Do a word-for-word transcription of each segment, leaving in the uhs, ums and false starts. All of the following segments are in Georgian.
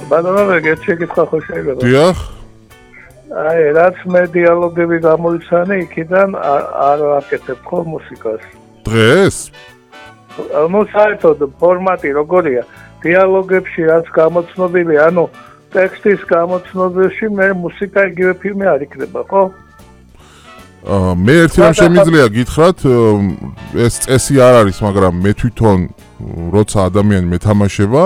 ბატონო, ეგეთ შეკითხვა ხო შეიძლება? დიახ. აი, რაც მე დიალოგები გამოიცანე, იქიდან არ ვაკეთებ ხო მუსიკას. დღეს? ну საერთოდ ფორმატი როგორია? დიალოგებში რაც გამოცნობილი, ანუ ტექსტის გამოცნობებში მე მუსიკა იგივე ფილმი არ იქნება, ხო? აა მე ერთი რამ შემიძლია გითხრათ, ეს წესი არ არის, მაგრამ მე თვითონ როცა ადამიანი მეთამაშება,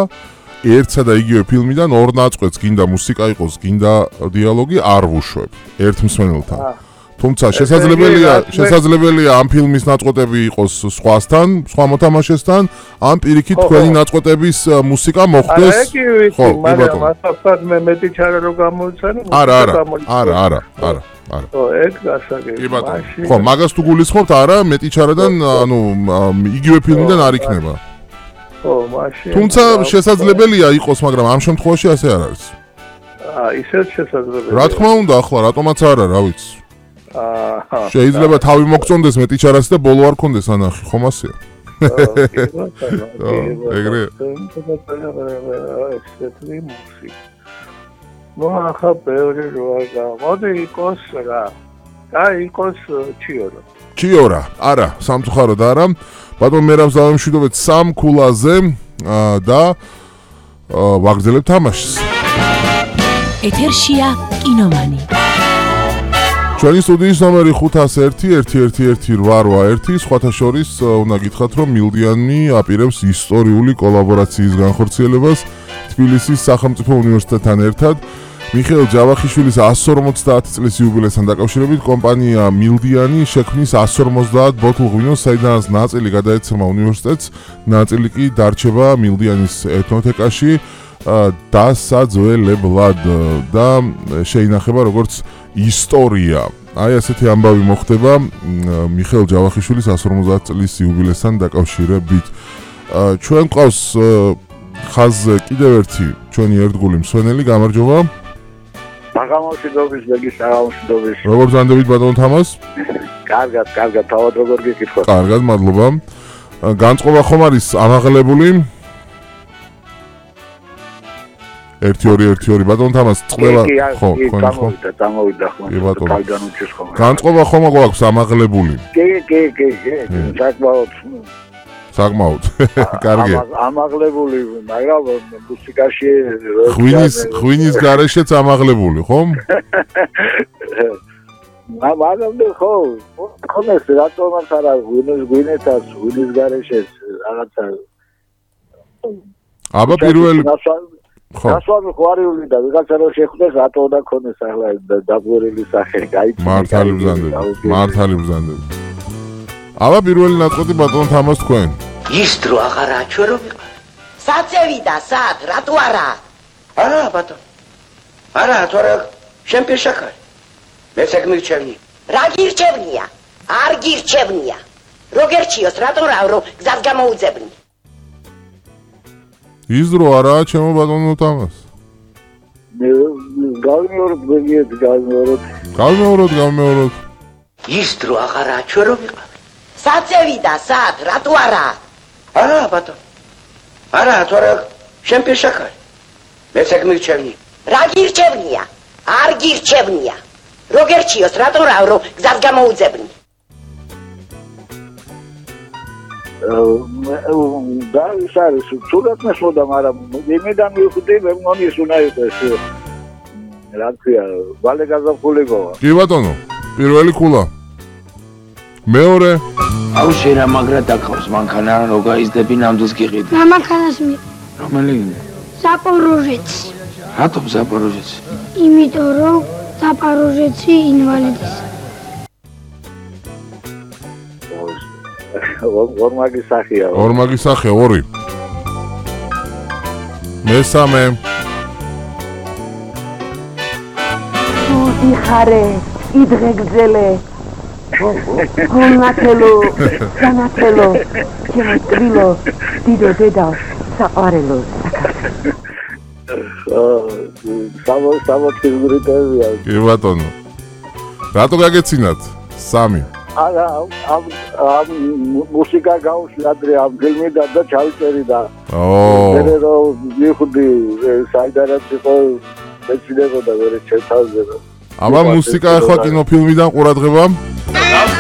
ერთსა და იგივე ფილმიდან ორ ნაწყვეტს გინდა მუსიკა იყოს, გინდა დიალოგი არ ვუშვებ ერთ მსმენელთან. თუმცა შესაძლებელია, შესაძლებელია ამ ფილმის ნაწყვეტები იყოს სხვასთან, სხვა მოთამაშესთან, ამ პირიქით თქვენი ნაწყვეტების მუსიკა მოხვდეს. ხო, მაგრამ ასაფად მე მეტი ჩარა რო გამოვიცანე, არა, არა, არა, არა, არა. არა. ხო, ეგ გასაგებია. კი ბატონო. ხო, მაგას თუ გულისხმობთ, არა, მეტი ჩარადან, ანუ იგივე ფილმიდან არ იქნება. ხო, მაშინ. თუმცა შესაძლებელია იყოს, მაგრამ ამ შემთხვევაში ასე არ არის. აა, ისეთ შესაძლებელია. რა თქმა უნდა, ახლა რატომაც არა, რა ვიცი. აა, შეიძლება თავი მოგწონდეს მეტი ჩარას და ბოლო არ კონდეს ანახი, ხომ ასეა? ეგრე. ну ახლა ბევრი რო არ გამოდი იყოს რა. აი იყოს ჩიორა. ჩიორა, არა, სამწუხაროდ არა. ბატონ მერავს დავემშვიდობეთ სამ ქულაზე და ვაგრძელებთ თამაშს. ეთერშია კინომანი. ჩვენი სტუდიის ნომერი ხუთას ერთი ერთი ერთი ერთი რვა ერთი, სხვათა შორის უნდა გითხრათ, რომ მილდიანი აპირებს ისტორიული კოლაბორაციის განხორციელებას თბილისის სახელმწიფო უნივერსიტეტთან ერთად. მიხეილ ჯავახიშვილის εκατს ორმოცდაათი წლის იუბილესთან დაკავშირებით კომპანია მილდიანი შექმნის εκατს ორმოცდაათ ბოთლ ღვინოს, საიდანაც ნაწილი გადაეცემა უნივერსიტეტს, ნაწილი კი დარჩება მილდიანის ეთნოთეკაში დასაძველებლად და შეინახება როგორც ისტორია. აი ასეთი ამბავი მოხდება მიხეილ ჯავახიშვილის εκατს ორმოცდაათი წლის იუბილესთან დაკავშირებით. ჩვენ ყავს ხაზზე კიდევ ერთი ჩვენი ერთგული მსვენელი, გამარჯობა. საღამოშიდობის ბეგი, საღამოშიდობის. როგორ ზანდებით ბატონ თამას? კარგად, კარგად, თავად როგორ გიკითხოთ? კარგად, მადლობა. განწყობა ხომ არის ამაღლებული? ერთი ორი ერთი ორი ბატონ თამას წყველა ხო, ხო, გამოვიდა, გამოვიდა ხო. კალდან უჩეს ხომ. განწყობა ხომ აქვს ამაღლებული? კი, კი, კი, კი. საკმაოდ საკმაოდ. კარგი. ამაღლებული, მაგრამ მუსიკაში ღვინის ღვინის გარეშეც ამაღლებული, ხომ? მაგრამ ხო, ხომეს რატომაც არა ღვინის ღვინეთას, ღვინის გარეშეც რაღაცა. აბა პირველი ხო. გასვამი ხვარიული და ვიღაცა რო შეხვდეს რატო უნდა ქონდეს ახლა დაგვერილი სახე, გაიცნო. მართალი ბრძანდები, მართალი ბრძანდები. აბა პირველი ნაწყვეტი ბატონ თამას თქვენ. ის დრო აღარაა ჩვენ რომ ვიყავ. საწევიდა, სად, რატო არა? არა ბატონ. არა, თორე შენ პირშაკარი. მე საგმირჩევნი. რა გირჩევნია? არ გირჩევნია. როგერჩიოს, რატო რა, რომ გზას გამოუძებნი? ის დრო არაა ჩემო ბატონო თამას. გავიმეოროთ, ბეგიეთ, გავიმეოროთ. გავიმეოროთ, გავიმეოროთ. ის დრო აღარაა ჩვენ რომ ვიყავ. საწევიდა, სად, რატო არა? არა ბატონ. არა, თორე შენ პირშაკარი. მე საგმირჩევნი. რა გირჩევნია? არ გირჩევნია. როგერჩიოს, რატო რა, რომ გზას გამოუძებნი? და ის არის, თუნდაც მესმოდა, მაგრამ იმედან მივხვდი, მე მგონი ის უნდა იყოს რა ქვია, ვალე გაზაფხულიკოა. კი ბატონო, პირველი ქულა. მეორე. აუ შენ რა მაგრა დაგხავს მანქანა რო გაიზდები ნამდვილს გიყიდი. რა მანქანას მე? რომელი? ზაპოროჟეცი. რატომ ზაპოროჟეცი? იმიტომ რომ ზაპოროჟეცი ინვალიდის. ორმაგი სახეა. ორმაგი სახე ორი. მესამე. თუ იხარე, იდღე გძელე. გონათელო, განათელო, ჩემო ტვილო, დიდო დედა, საყვარელო, საქართველო. სამო სამო თვისგრიტებია. კი ბატონო. რატო გაგეცინათ? სამი. არა, ამ ამ მუსიკა გავუსვი ადრე ამ ფილმიდან და ჩავიწერი და ო მე რომ მივხვდი საიდანაც იყო მეცინებოდა მე ჩემ თავზე. აბა მუსიკა ახლა კინოფილმიდან ყურადღება?